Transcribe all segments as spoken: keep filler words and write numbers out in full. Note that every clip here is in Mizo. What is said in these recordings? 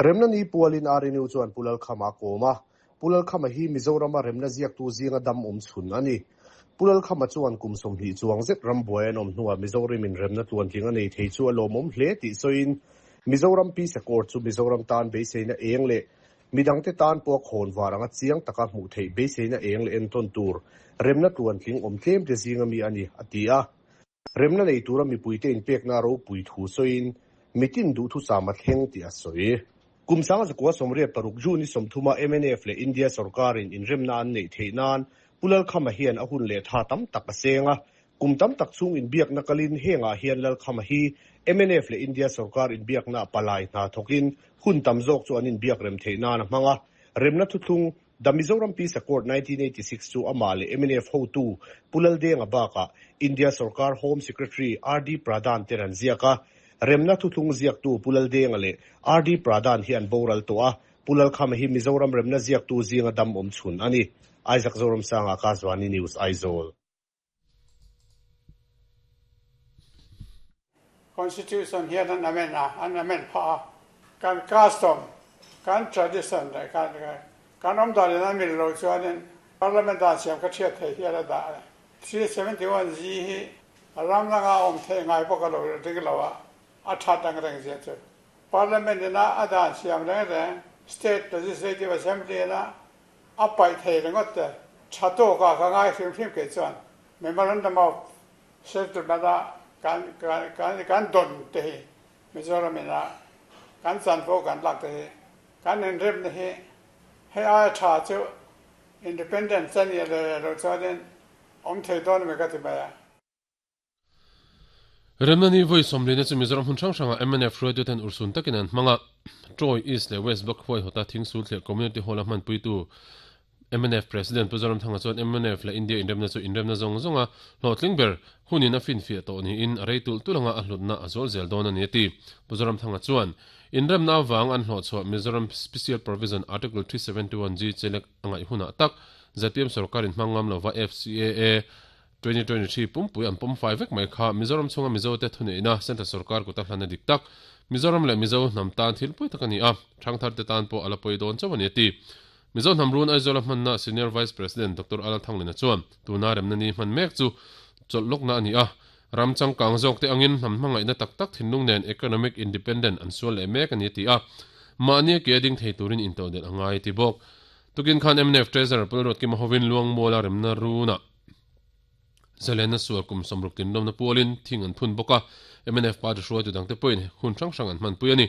Remna ni pualin R N U chuan Pu Lalkhama kawm a, Pu Lalkhama hi Mizorama remna ziaktu zinga dam awm chhun a ni. Pu Lalkhama chuan kum sawmhnih chuang zet rambuai an awm hnuah Mizoramin remna tluantling a nei thei chu a lawmawm hle tih sawiin Mizoram Peace Accord chu Mizoram tan beiseina eng leh midangte tan pawh khawn var anga chiang taka hmuh theih beiseina eng leh entawn tur remna tluantling awm tlem te zinga mi a ni a ti a. Remna nei tura mipuite inpekna ropui thu sawiin mitin duh thusam a thleng tih a sawi. Kum sanga zakua sawmriat paruk June sawmthuma M N F leh India sarkarin inremna an neih theih nan Pu Lalkhama hian a hun leh tha tam tak a seng a. Kum tam tak chung inbiakna kalin hengah hian Lalkhama hi M N F leh India sarkar inbiakna palai hna thawkin hun tam zawk chu an inbiak rem theih nan a hmang a. Remna thuthlung The Mizoram Peace Accord nineteen eighty-six chu amah leh M N F hotu Pu Laldenga bakah India sarkar Home Secretary R D Pradhan ten an ziak a. Remna thuthlung ziaktu Pu Laldenga leh R D Pradhan hi an boral tawh a. Pu Lalkhama hi Mizoram remna ziaktu zinga dam awm chhun a ni. Isaac Zoramsanga Akashvani News Aizawl. Constitution hian an amend a, an amend pha a. Kan custom, kan tradition leh kan kan awm danin an mil lo chuanin Parliament dan siam ka thiat thei hian a dah. three seventy-one G hi ram langa awm thei ngai bawk a lo ring lo a, a that ang reng zia chu. Parliament ina a dan siam reng reng, State Legislative Assembly ina a paih thei ringawt te tha tawk a ka ngai hrim hrim ke chuan Memorandum of Settlement a kan kan kan don te hi Mizoram ina kan chanvo kan lak te hi kan inremna hi hei aia tha chu independent chan i le lo chuanin awm thei dawn mi ka ti mai a. Remna ni voi sawmlina chu Mizoram hmun hrang hranga M N F hruaitu ten ursun takin an hmang a. Troy East leh West Block huai hawta Thingsul leh Community Hall a hmanpuitu M N F President Pu Zoramthanga chuan M N F leh India inremna chu inremna zawng zawnga hlawhtling ber hunin a finfiah tawh niin a rei tul tulanga a hlutna a zawl zel dawn a ni a ti. Pu Zoramthanga chuan inremna awang an hlawhchhuah Mizoram Special Provision Article three seventy-one G chelek a ngaih hunah tak Z P M sarkarin hmangam lova F C A A twenty twenty-three pumpui an pawm fai vek mai kha Mizoram chunga Mizo te thuneihna Central sarkar kuta hlana dik tak Mizoram leh Mizo hnam tan thil pui tak a ni a, thangthar te tan pawh a la pawi dawn chauh a ni a ti. Mizo hnam run Aizawl a hmanna Senior Vice President Doctor Alan Thanglina chuan tuna remna ni hman mek chu chawlh lawkna a ni a. Ram changkang zawk te angin hnam hmangaihna tak tak thinlung nen economic independent an sual leh mek a ni a ti a. Mahni ke ding thei turin intodelh a ngai ti bawk. Tukin khan M N F Treasurer Pu Lalruatkima hovin Luang Muala remna runa Zalena sual kum sawmruk tinlawmna pualin thing an phun bawk a. M N F party hruaitu dangte pawhin hun hrang hrang an hmanpui a ni.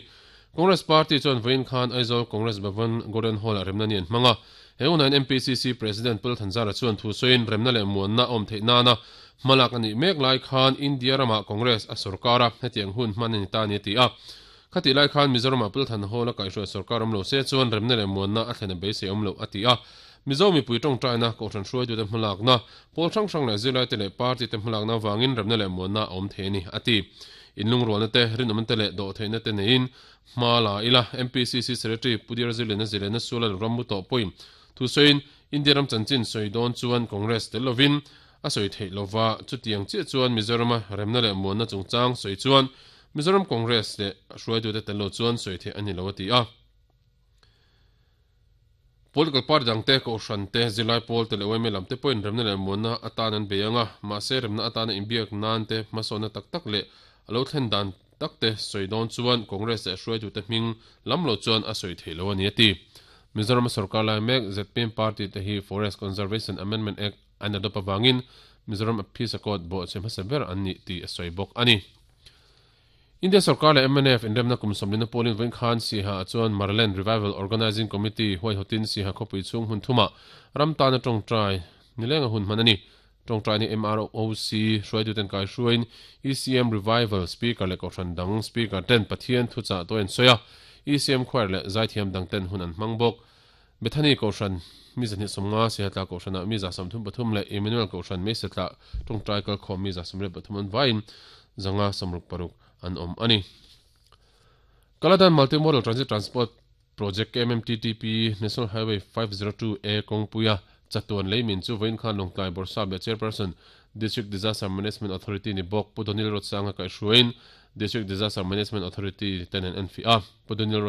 Congress Party chuan vawiin khan Aizawl Congress Bhavan Golden Hall a remna ni an hmang a. He hunain M P C C President Pu Lalthanzara chuan thu sawiin remna leh muanna awm theih nana hmalak a nih mek lai khan India rama Congress a sarkar a hetiang hun hman a ni ta ni a ti a. Khati lai khan Mizorama Pu Lalthan Hall a kaihhruai sarkar awm lo se chuan remna leh muanna a thlen a beisei awm lo a ti a. Mizo mipui tawngtaina kohhran hruaitute hmalakna pawl hrang hrang leh zirlaite leh party te hmalakna wangin remna leh muanna a awm thei a ni a ti. Inlungrualna te rinawmna te leh dawh theihna te neiin hma la ila M P C C Secretary Pu Dir Zirlina Zilena Sula ram mu tawh pawhin thu sawiin India ram chanchin sawi dawn chuan Congress tel lovin a sawi theih lova chutiang chiah chuan Mizorama remna leh muanna chungchang sawi chuan Mizoram Congress leh hruaitute tel lo chuan sawi theih a ni lo a ti a. Political party dangte kohhran te zirlai pawl te leh Y M A lam te pawhin remna leh muanna atan an bei anga mahse remna atana inbiak nan te hmasawnna tak tak leh a lo thlen dan tak te sawi dawn chuan Congress leh hruaitute hming lam lo chuan a sawi theih lo a ni a ti. Mizoram sarkar lai mek Z P M party te hi Forest Conservation Amendment Act an adopt awangin Mizoram Peace Accord bawh che hmasa ber an ni tih a sawi bawk a ni. India sarkar leh M N F inremna kum sawmlina pawlin vawiin khan Siha chuan Maraland Revival Organizing Committee huaihawtin Siha khawpui chhung hun thuma ram tana tawngtai nilenga hun hman a ni. Tawngtai ni M R O C hruaituten kai hruain E C M Revival Speaker leh kohhran dang Speaker ten Pathian thuchah to en sawi a. E C M Choir leh Zaithiam dang ten hun an hmang bawk. Bethany kohhran mi zahnih sawmnga Sihatla kohhranah mi za sawmthum pathum leh Emmanuel kohhran mi setla tawngtai kal khawm mi za sawmriat pathum an vaiin zanga sawmruk paruk an awm a ni. Kaladan Multimodal Transit Transport Project K M M T T P National Highway five zero two A kawngpuia chatuan leimin chu vawiin khan Lawngtlai Bawrhsap leh Chairperson District Disaster Management Authority ni bawk Pu Donil Rotsanga kaihhruaiin District Disaster Management Authority ten an en fi a. Pu Donil